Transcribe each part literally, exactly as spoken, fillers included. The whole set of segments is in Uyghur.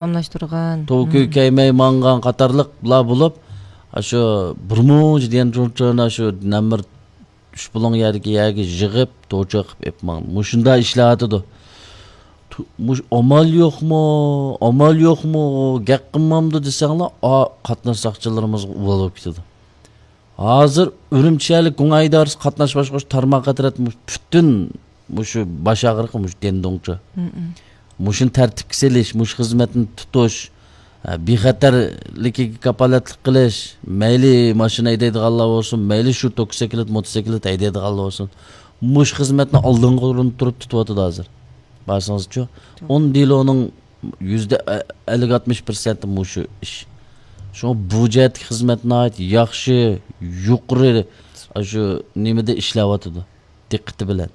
داۋاملاشتۇرغان. توۋا كۆكەيمەي ماڭغان قاتارلىقلار بولۇپ، ئاشۇ بىر مۇنچە دېگەن چۇنچۇنا شۇ نەمبىر ئۈچ بۇلۇڭ يەردىكى يەرگە يىغىپ، توچا قىلىپ ئېلىپ ماڭدى. مۇشۇنداق ئىشلەۋاتىدۇ. تو-، مۇش-، ئامال يوقمۇ؟ ئامال يوقمۇ؟ گەپ قىلمامدۇ دېسەڭلار، ئا، قاتناش ساقچىلىرىمىزغا ئۇۋال بولۇپ كېتىدۇ. ھازىر ئۈرۈمچى شەھەرلىك گۇڭئەن ئىدارىسى قاتناش باشقۇرۇش تارماقى ئەترەت مۇ-، پۈتۈن مۇشۇ باش ئاغرىقى مۇشۇ دېندۇڭچۇ. مۇشۇنى تەرتىپكە سېلىش، مۇشۇ خىزمەتنى تۇتۇش، ھە، بىخەتەرلىكىگە كاپالەتلىك قىلىش، مەيلى ماشىنا ھەيدەيدىغانلار بولسۇن، مەيلى شۇ توكسىكلىت، موتوسىكلىت ھەيدەيدىغانلار بولسۇن، مۇشۇ خىزمەتنى ئالدىنقى ئورۇندا تۇرۇپ تۇتۇۋاتىدۇ ھازىر. بارسىڭىزچۇ، توغرا. ئون دېلونىڭ يۈزدە ئەللىك ئاتمىش پىرسەنتى مۇشۇ ئىش. شۇڭا بۇ جەھەتتىكى خىزمەت ناھايىتى ياخشى، يۇقىرى، شۇ نېمىدە ئىشلەۋاتىدۇ، دىققىتى بىلەن.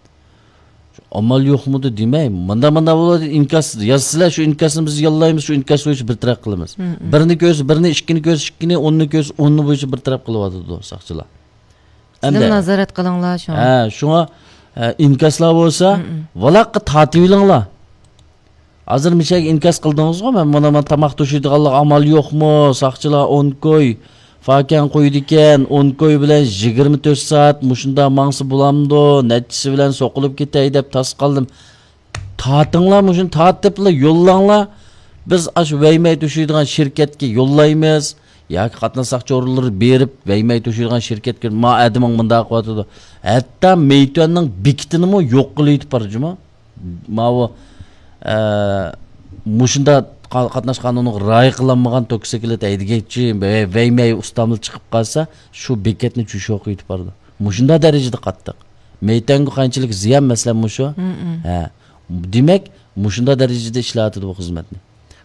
ئامال يوقمىدى دېمەي، ماندا، ماندا بولىدۇ، ئىنكاس يازسىلەر، شۇ ئىنكاسنى بىز يوللايمىز، شۇ ئىنكاس بويىچە بىر تەرەپ قىلىمىز. بىرنى كۆرسە بىرنى، ئىككىنى كۆرسە ئىككىنى، ئوننى كۆرسە ئوننى بويىچە بىر تەرەپ قىلىۋاتىدۇ ساقچىلار. سىزمۇ ئەمدى نازارەت قىلىڭلار شۇڭا. ھە، شۇڭا، ئە، ئىنكاسلار بولسا، ۋالاققا تارتىۋېلىڭلار. ھازىر مىشەگە ئىنكاس قىلدىڭىزغۇ، مەن مانا، مانا تاماق توشۇيدىغانلىق ئامال يوقمۇ؟ ساقچىلار ئون كوي فاكەن قويىدىكەن، ئون كوي بىلەن يىگىرمە تۆت سائەت مۇشۇنداق ماڭسا بولامدۇ؟ نەچچىسى بىلەن سوقۇلۇپ كېتەي دەپ تاس قالدىم. تارتىڭلار، مۇشۇنى تارتىپلا يوللاڭلار. بىز ئاشۇ ۋەيمەي توشۇيدىغان شىركەتكە يوللايمىز. ياكى قاتناش ساقچى ئورۇنلىرى بېرىپ، ۋەيمەي توشۇيدىغان شىركەتكە، ما ئادىمىڭ مۇنداق قىلىۋاتىدۇ. ھەتتا مېيتۈەننىڭ بېكىتىنىمۇ يوق قىلىۋېتىپ بار جۇمۇ. ماۋۇ، ئە، مۇشۇنداق قا-، قاتناش قانۇنىغا رىئايە قىلالمىغان توكسىكلىت ھەيدىگەچچى، ۋەي-، ۋەيمەي ئۇستاملا چىقىپ قالسا، شۇ بېكەتنى چۈشۈرۈپ قويۇپ بارىدۇ. مۇشۇنداق دەرىجىدە قاتتىق. مېيتۈەنگە قانچىلىك زىيان، مەسىلەن، مۇشۇ. ھە. دېمەك، مۇشۇنداق دەرىجىدە ئىشلەۋاتىدۇ بۇ خىزمەتنى.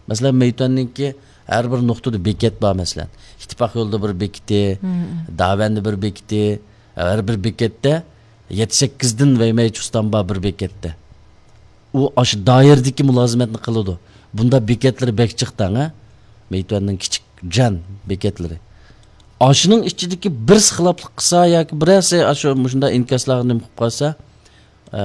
مەسىلەن، مېيتۈەننىڭكى ھەر بىر نۇقتىدا بېكەت بار، مەسىلەن، ئىتتىپاق يولىدا بىر بېكىتى، داۋەندە بىر بېكىتى، ھەر بىر بېكەتتە يەتتە سەككىزدىن ۋەيمەي چۇستان بار بىر بېكەتتە. ئۇ ئاشۇ دائىرىدىكى مۇلازىمەتنى قىلىدۇ. بۇندا بېكەتلىرى بەك جىق دەڭ، ھە؟ مېيتۈەننىڭ كىچىك جان بېكەتلىرى. ئاشۇنىڭ ئىچىدىكى بىرسى خىلاپلىق قىلسا ياكى بىرەرسى ئاشۇ مۇشۇنداق ئىنكاسلارغا نېمە قىلىپ قالسا، ئە،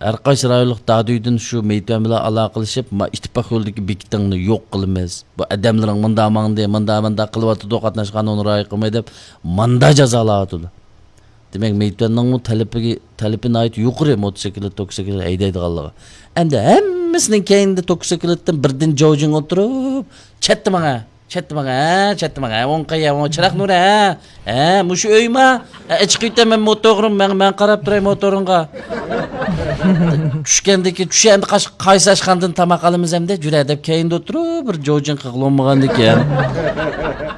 ھەر قايسى رايونلۇق دادۈيدىن شۇ مېيتۈەن بىلەن ئالاقىلىشىپ، ما، ئىتتىپاق يولىدىكى بېكىتىڭنى يوق قىلىمىز. بۇ ئادەملىرىڭ مۇنداق ماڭدى، مۇنداق، مۇنداق قىلىۋاتىدۇ، قاتناش قانۇنىغا رىئايە قىلماي دەپ، ماندا جازالاۋاتىدۇ. دېمەك، مېيتۈەننىڭمۇ تەلىپىگە، تەلىپى ناھايىتى يۇقىرى موتوسىكلىت، توكسىكلىت ھەيدەيدىغانلىقى. ئەمدى ھەممىسىنىڭ كەينىدە توكسىكلىتتىن بىردىن جاۋجىڭ ئولتۇرۇپ، چەتتە ماڭا. چەتتە ماڭا، ھە، چەتتە ماڭا، ھە، ئوڭ قايا، ئوڭ چىراغ نۇرى، ھە، ھە، مۇشۇ ئۆيما، ھە، ئىچىقىۋېتە، مەن موتورغا، مەن، مەن قاراپ تۇراي موتورۇڭغا. چۈشكەندىكى، چۈش ئەمدى قاش-، قايسى ئاشخانىدىن تاماق ئالىمىز ئەمدى، جۈرە دەپ كەينىدە ئولتۇرۇپ، بىر جوجىڭ قىغلىنمىغاندىكىن.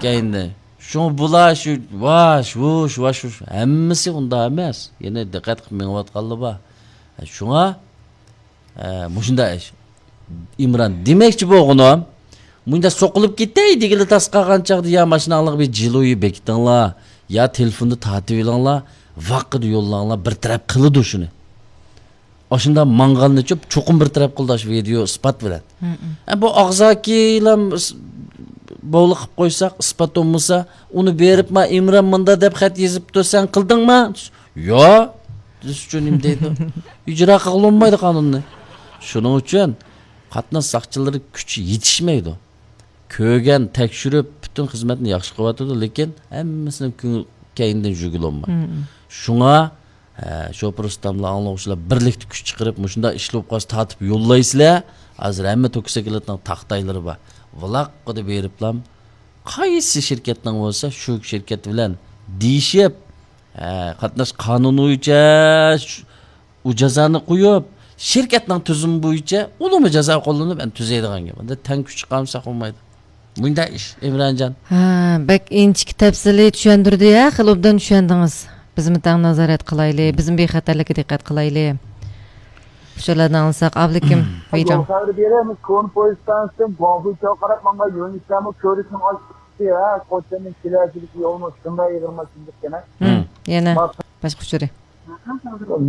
كەينىدە. شۇڭا بۇلار شۇ، ۋاش، ۋۇش، ۋاش، ۋۇش، ھەممىسى ئۇنداق ئەمەس. يەنە دىققەت قىلىپ مېڭىۋاتقانلار بار. شۇڭا ئە، مۇشۇنداق ئىش. ئىمران، دېمەكچى بولغىنىم، مۇنداق سوقۇلۇپ كېتەي دېگىلى تاس قالغان چاغدا يا ماشىناڭلارغا بىر جىلۇيى بېكىتىڭلار، يا تېلېفوندا تارتىۋېلىڭلار، ۋاققىدا يوللاڭلار، بىر تەرەپ قىلىدۇ شۇنى. ئاشۇنداق ماڭغاننى چوپ-، چوقۇم بىر تەرەپ قىلىدۇ، ئاشۇ ۋىدېو ئىسپات بىلەن. ئە، بۇ ئاغزاكىلا ئىس-، بوۋلۇق قىلىپ قويساق، ئىسپات بولمىسا، ئۇنى بېرىپ، ما ئىمران مۇنداق دەپ خەت يېزىپتۇ، سەن قىلدىڭما؟ يا، بىز ئۈچۈن نېمە دەيدۇ؟ ئىجرا قىلغىلى بولمايدۇ قانۇننى. شۇنىڭ ئۈچۈن قاتناش ساقچىلىرى كۈچى يېتىشمەيدۇ. كۆرگەن، تەكشۈرۈپ، پۈتۈن خىزمەتنى ياخشى قىلىۋاتىدۇ، لېكىن ھەممىسىنىڭ كۆڭلى كەينىدىن يۈرگىلى بولمايدۇ. شۇڭا، ھە، شوپۇر ئۇستاملار، ئاڭلىغۇچىلار بىرلىكتە كۈچ چىقىرىپ، مۇشۇنداق ئىش بولۇپ قالسا تارتىپ يوللايسىلەر. ھازىر ھەممە توكسىكلىتنىڭ تاختايلىرى بار. ۋالاققىدا بېرىپلام، قايسى شىركەتنىڭ بولسا، شۇ شىركەت بىلەن دېيىشىپ، ھە، قاتناش قانۇنى بويىچە شۇ، ئۇ جازانى قويۇپ، شىركەتنىڭ تۈزۈمى بويىچە ئۇلىمۇ جازا قوللىنىپ، ئەنە تۈزەيدىغان گەپ. ئەندى تەڭ كۈچ چىقارمىساق بولمايدۇ. مۇنداق ئىش، ئىمرانجان. ھە، بەك ئىنچىكە تەپسىلىي چۈشەندۈردى، ھە، خېلى ئوبدان چۈشەندىڭىز. بىزمۇ تەڭ نازارەت قىلايلى، بىزمۇ بىخەتەرلىككە دىققەت قىلايلى. ئۇچۇرلارنى ئاڭلىساق، ئابلىكىم، ۋىجاڭ. يول خەۋىرى بېرىمىز، كونا پويىز ستانسىسىدىن گۇاڭفېيچاۋغا قاراپ ماڭغان يۆنىلىشلەرمۇ كۆۋرۈكنىڭ ئاستى، ھە، قوچاننىڭ كېلەچىكىدىكى يولمۇ شۇنداق ئېغىر ماشىنا ئىكەن، ھە. يەنە باشقا ئۇچۇرى.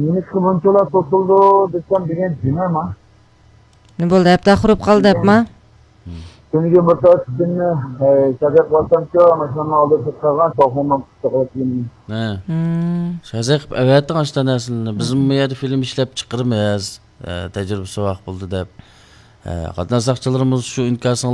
نېمىشقا بۇنچىلا توسۇلدى دېسەم، دېگەن جىنەما. نېمە بولدى؟ ھەپتە ئاخىرى بولۇپ قالدى دەپما؟ تۈنۈگۈن بىر سائەت ئىچىدە، ئە، شەزەك بارسامچۇ، ماشىنامنىڭ ئالدىدا تۇرۇپ قالغان، شوفېرنىڭ پۇتىغا تېگىدى. ھە. شەزەك قىلىپ ئەۋەتىڭ ئاشۇنداق نەرسىلەرنى. بىزمۇ بۇ يەردە فىلىم ئىشلەپ چىقىرىمىز. ئە، تەجرىبە ساۋاق بولدى دەپ. قاتناش ساقچىلىرىمىز شۇ ئىنكاسىڭلار